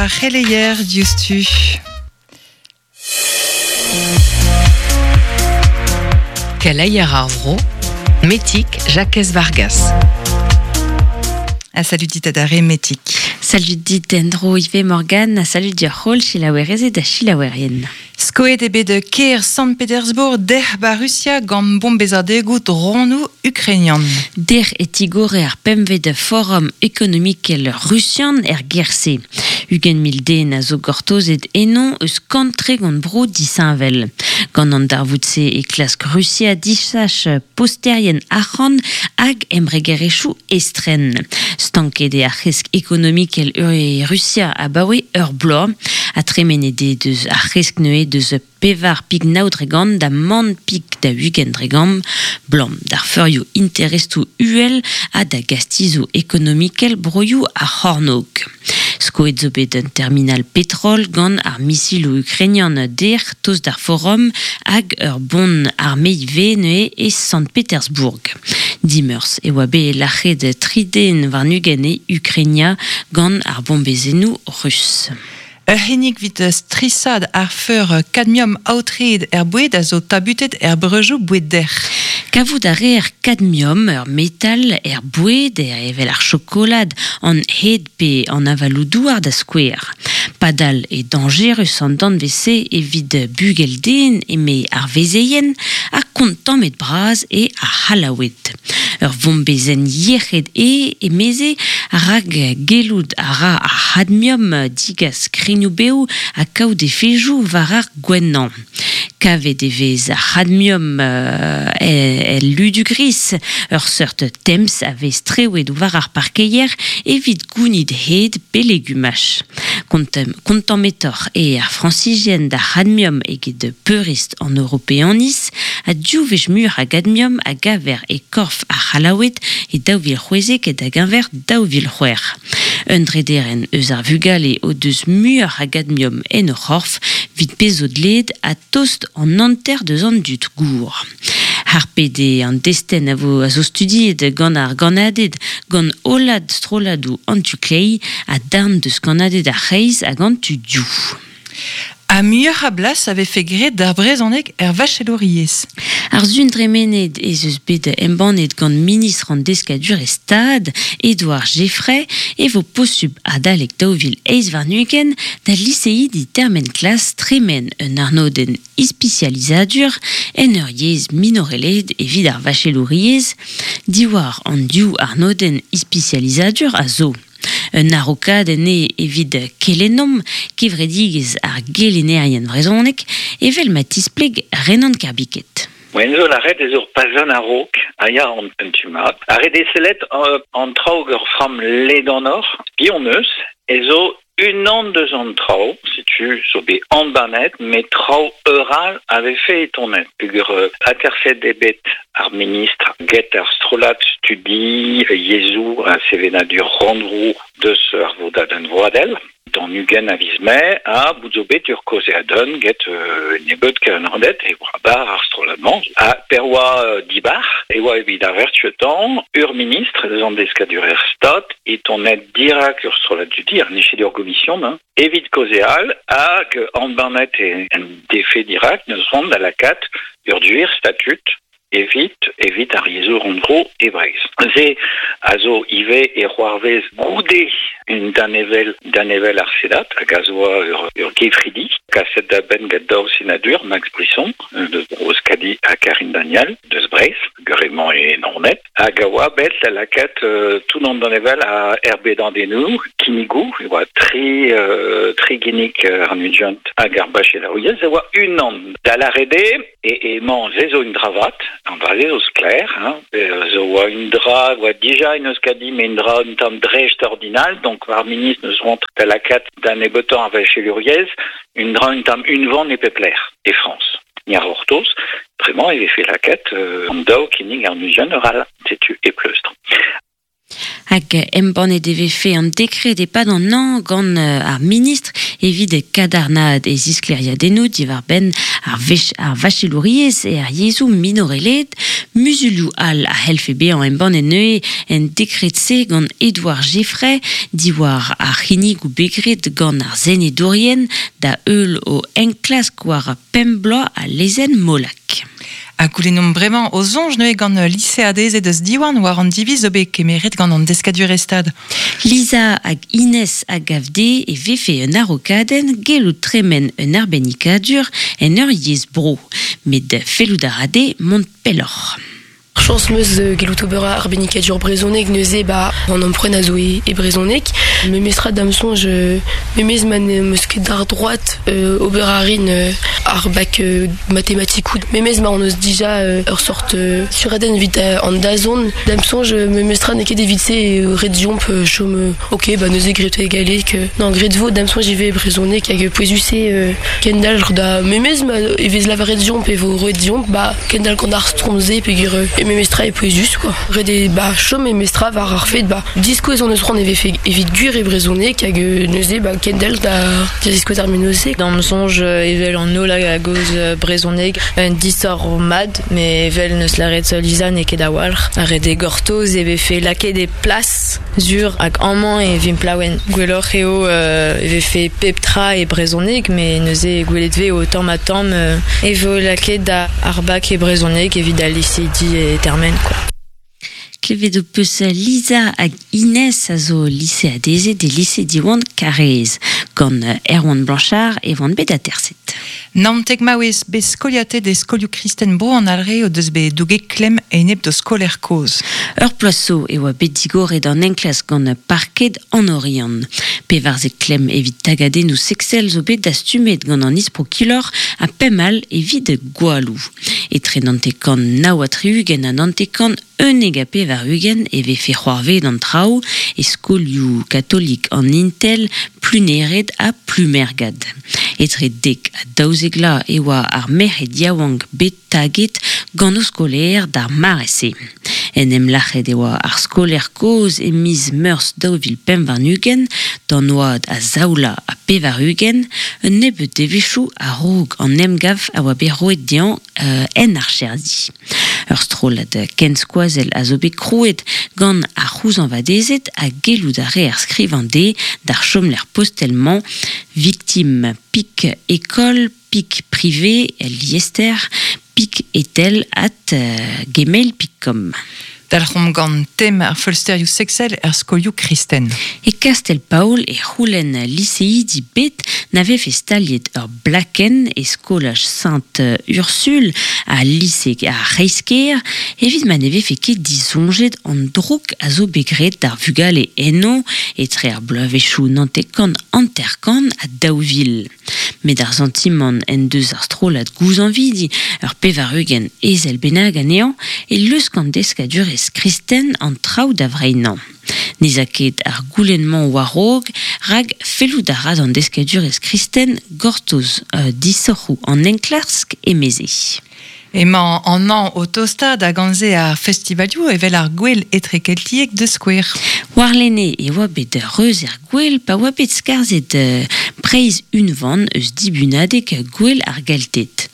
ar c'heleier diouzhtu. Keleier ar vro, Metig Jakez Vargas. Ha salut dit adarre Metig. Salut dit en-dro ivez Morgane, ha salut deoc'h holl selaouerezed ha selaouerien. Skoet eo bet kêr Sant-Petersbourg dec'h 'ba Rusia gant bombezadegoù dronoù ukrainian. Dec'h e tigore ar pempvet forum ekonomikel rusian er gêr-se. 20 000 den a zo gortozet eno eus 130 bro disheñvel. Gant an darvoud-se e klask Rusia disach posterien arc'hant hag embregerezhioù estren. Stanket eo ar c'hresk ekonomikel e Rusia abaoe ur bloaz ha tremenet eo deus ar c'hresk neuze deus 4.9% da mann pik da 20% 'blam d'ar feurioù interestoù uhel ha da gastizoù ekonomikel broioù ar c'hornôg. Skoet zo bet un terminal petrol gant ar misiloù ukrainian dec'h tost d'ar forum hag ur bon arme ivez neuze e Sant-Petersbourg. Dimeurzh e oa bet lac'het tri den warn-ugent e Ukrainia gant ar bombezennoù rus. Ur c'hinnig evit strishaat ar feur kadmiom aotreet er boued a zo tabutet er breujoù boued dec'h. Kavout a reer kadmiom, ur metal, er boued, evel ar chokolad, an hed pe an avaloù-douar da skouer. Padal eo dañjerus an danvez-se evit bugel-den eme ar vezeien ha kontammet bras eo ar C'hallaoued. Ur vombezenn yec'hed eo, emeze, rak gellout a ra ar c'hadmiom digas krignoù-bev ha kaout efejoù war ar gouennañ. Kavet e vez ar c'hadmiom el ludu gris, ur seurt temz a vez strewet war ar parkeier evit gounit hed pe legumaj. Kontammetoc'h eo ar Frañsizien d'ar c'hadmiom eget peurrest an Europeaniz, ha div wech muioc'h a gadmiom a gaver e korf ar C'hallaoued e 2016 da-geñver 2006. Un drederenn eus ar vugale o deus muioc'h a gadmiom en o c'horf 'vit pezh zo dleet ha tost an hanter deus an dud gour. Harpet eo an destenn a vo a zo studiet gant ar gannaded gant hollad strolladoù an tu kleiz ha darn deus kannaded ar c'hreiz hag an tu dioù. Ha muioc'h a blas a vefe graet d'ar brezhoneg er vachelouriezh. Ar sun dremenet ez eus bet embannet gant ministr an Deskadurezh Stad, Edouard Geffray, e vo posubl adalek 2028 da liseidi termen klas tremen un arnodenn ispisializadur en ur yezh minorelaet evit ar vachelouriezh, diwar an div arnodenn ispisializadur a zo. Un araokadenn eo evit Kelennomp, kevredigezh ar gelennerien vrezhonek, evel ma tispleg Renan Kerbiket. Moen zo lâret ez ur pazenn a-raok a ya an un tu mat. Ar re desellet an traoù ur framm ledanoc'h, piv hon eus, ez zo unan deus an traoù, setu zo bet embannet, met traoù ur all a vefe e tonet. Peogwir aterset eo bet ar ministr get ar strollad studi yezhoù ha sevenadur rannvro deus ar vodadenn vroadel. D'an 20 a viz Mae ha bout zo bet ur kaozeadenn get nebeut kelennerdet e oa bar ar strollad-mañ. Ha per oa dibar e oa evit ar vertuetañ ur ministr eus an deskadurer Stad e tonet dirak ur strollad dudi, ar ket ur gomision, hein, evit kaozeal hag embannet en defe dirak n'eus c'hoant da lakaat ur gwir statud evit evit ar yezhoù rannvro e Breizh. Se a zo ivez e c'hoarvez goude un danevell danevell ar Senat hag a zo ur, ur gefridi kaset da benn gant daou senadur, Max Brisson deus Bro-Euskadi ha Karine Daniel deus Breizh, emañ e Naoned, hag a oa bet da lakaat tout an danevell a erbedadennoù, kinnigoù, e oa tri, tri ginnig ar nugent hag ar bachelouriezh, e oa unan da lâret eo E emañ se zo un dra vat, an dra-se zo sklaer, hein, zo oa un dra, oa dija en Euskadi, met un dra un tamm dreist-ordinal, donc ar ministr neus c'hoant da lakaat da nebeutañ ar vachelouriezh, un dra un tamm unvan e pep lec'h e Frañs. Ni a c'hortoz, bremañ e vefe lakaet an daou kinnig ar muzian ur all, setu e pleustr. Hag embannet e vefe an dekred e-pad an hañv gant ar ministr evit kadarnaat e zisklêriadennoù diwar-benn ar ar vachelouriezh er yezhoù minorelaet. Muzulioù all a c'hellfe bezañ embannet neuze en dekred-se gant Edouard Geffray diwar ar c'hinnigoù bet graet gant ar senedourien da heul o enklask war pemp bloaz a lezenn Molac. Ha goulennomp bremañ o soñj neuze gant liseadezed eus Diwan war an diviz zo bet kemeret gant an deskadurezh Stad. Lisa hag Inès a gav dezhe e vefe un araokadenn gellout tremen un arbennikadur en ur yezh bro. Met fellout a ra dezhe mont pelloc'h. Chañs 'm eus gellout ober arbennikadur brezhoneg neuze 'ba an ampoent a zo e brezhoneg. Memestra da'm soñj memes ma n'em eus ket ar droad ober a rin ar bak matematikoù. Memes ma hon eus dija ur sort suradenn evit an dazont. Da'm soñj memestra n'eo ket evit-se eo ret deomp chom ok ba neuze graet e galleg. Non graet 'vo da'm soñj ivez e brezhoneg hag pouezus eo kendalc'h da memes ma e vez lavaret deomp e vo roet deomp ba kendalc'h gant ar stromm-se peogwir e memestra eo pouezus quoi. Ret eo ba chom memestra war ar fed ba diskouez hon eus c'hoant e vefe evit gwir e brezhoneg hag neuze ba kendalc'h da ziskouez ar mennozh-se. D'am soñj evel an holl a gaoz brezhoneg un disoc'h mat met evel n'eus lâret Lisa n'eo ket a-walc'h. Ret eo gortoz e vefe lakaet e plas sur hag amañ e vimp laouen. Gwelloc'h eo e vefe pep tra e brezhoneg met neuze gwelet 'vez o tamm-ha-tamm e vo lakaet ar bak e brezhoneg evit al liseidi e termen quoi. Klevet ho peus Lisa hag Inès a zo liseadezed e lise Diwan Karaez. Gant Erwan Blanchard e oant bet aterset. Naontek maouez bet skoliatet e skolioù kristen Bro an Alre o deus bet douget klemm enep d'o skolaer kozh. Ur bloaz zo e oa bet digoret an enklask gant parked an Oriant. Pevarzek klemm evit tagadennoù seksel zo bet dastumet gant an isprokilor ha pemp all evit gwalloù. Etre 90 69 ha 90 91 e vefe c'hoarvezet an traoù e skolioù katolik an Intel, Plunered ha Plumergad. Etre dek ha daouzek vloaz e oa ar merc'hed yaouank bet taget gant o skolaer d'ar mare-se. En em lac'het e oa ar skolaer kozh e miz Meurzh 2025, d'an oad a zaoula ha pevar-ugent, un nebeud devezhioù a-raok an emgav a oa bet roet dezhañ en archerdi. Ur strollad kenskoazell a zo bet krouet gant ar c'houzañvadezed ha gellout a reer skrivañ dezhe d'ar chomlec'h postel-mañ victime pik école pik privé liester pik etel at gmail pik com. Dalc'homp gant tem ar feulsterioù seksel er skolioù kristen. E Kastell-Paol e c'houlenn liseidi bet na vefe staliet ur blakenn e skolaj Sainte-Ursule ha lise ar C'hreiz-kêr evit ma ne vefe ket disoñjet an droug a zo bet graet d'ar vugale eno etre ar bloavezhioù 99 ha 2000. Met ar santimant en deus ar strollad gouzañvidi, ur 80 ezel bennak anezhañ, e lusk an deskadurezh kristen an traoù da vreinañ. N'ez a ket ar goulenn-mañ war-raok rak fellout a ra d'an deskadurezh kristen gortoz disoc'hoù an enklask emeze. Emañ an hañv o tostaat hag gant-se ar festivalioù evel ar Gouel Etrekeltiek da skouer. Warlene e oa bet reuz er gouel pa oa bet skarzhet Breizh unvan eus dibunadeg Gouel ar Gelted.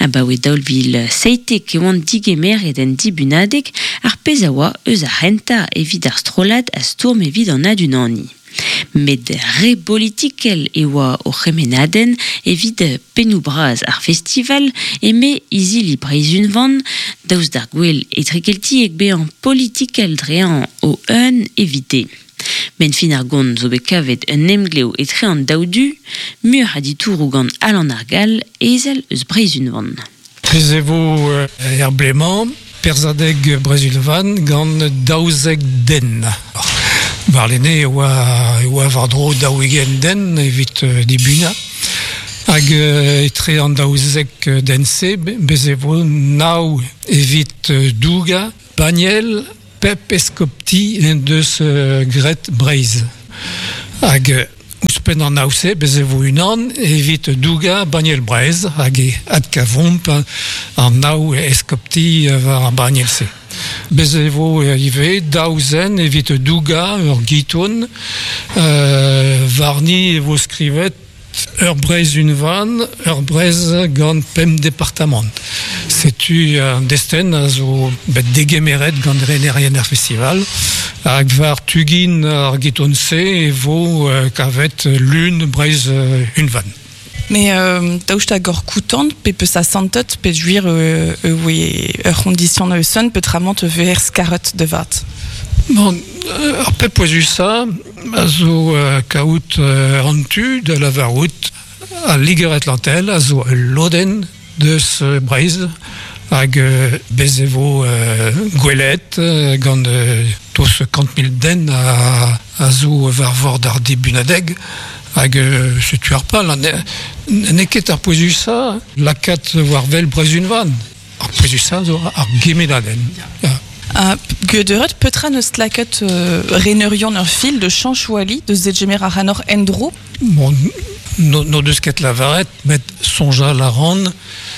Abaoe 2017 e oant digemeret en dibunadeg, ar pezh a oa eus ar c'hentañ evit ar strollad a stourm evit an adunaniñ. Met re bolitikel e oa o c'hemennadenn evit pennoù-bras ar festival, eme izili Breizh Unvan, daoust d'ar gouel etrekeltiek bezañ politikel dre o-un evite. Benn fin ar gont zo bet kavet un emglev etre an daou du, muioc'h a ditouroù gant Alan ar Gall, ezel eus Breizh Unvan. Bez e vo er blez-mañ perzhadeg Breizh Unvan gant 12 den. Warlene e oa, e oa war-dro 40 den evit dibunañ. Hag etre an 12 den-se, bez e vo nav evit dougañ banniel pep eskopti en deus graet Breizh. Hag ouzhpenn an nav-se, bez e vo unan evit dougañ banniel Breizh hag e adkavomp an nav eskopti war ar banniel-se. Bez e vo ivez daou zen evit dougañ ur giton. Warni e vo skrivet Ur Breizh unvan, ur Breizh gant pemp departamant. Setu an desten a zo bet degemeret gant renerien ar festival hag war tugin ar geton-se e vo kavet lun Breizh unvan. Mais daoust hag ur koutant pe peus a santet pe juir oe ur c'hondition eus petramant ver skaret de vat. Bon, ar pep pouezusa a zo kaout an tu da lavarout al Liger Atlantel a zo ul lodenn deus Breizh hag bez e vo gwelet gant toz 100 000 den a zo war vord ar dibunadeg hag setu ar pal n'eo ket ar pouezusa lakaat war wel Breizh unvan. Ar pouezusa zo ar gemenadenn. Ja. Geudet petra neus lakaat reneurion ur fil de chanchouali de zegemer ar hanor endro? Bon, no deus ket lavaret, met sonjal a ran,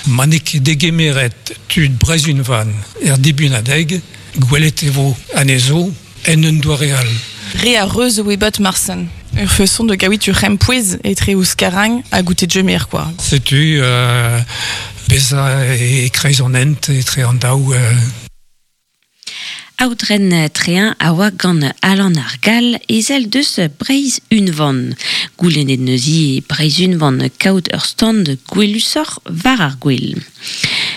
ma n'eo ket degemeret tud Breizh unvan er dibunadeg, gwelet e vo anezho en un doare all. Re a reuz oe bot marsen. Ur feson de gaouit ur c'hempouez etre ouzh karang ha goutet jemer, quoi. Setu beza e kreiz an hent etre an daou. Aodren Trein a oa gant Alan ar Gall ezel deus Breizh Unvan. Goulennet neuzi Breizh Unvan kaout ur stand gwelusoc'h war ar gwel.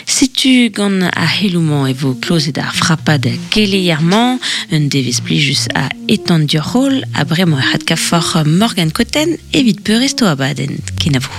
Setu gant ar c'heloù-mañ e vo klozet ar frapad keleier-mañ, un devezh plijus a etan dioc'h-holl ha bremañ e c'had kaforc'h Morgan Cotten evit peurrest o abadenn. Kenavo.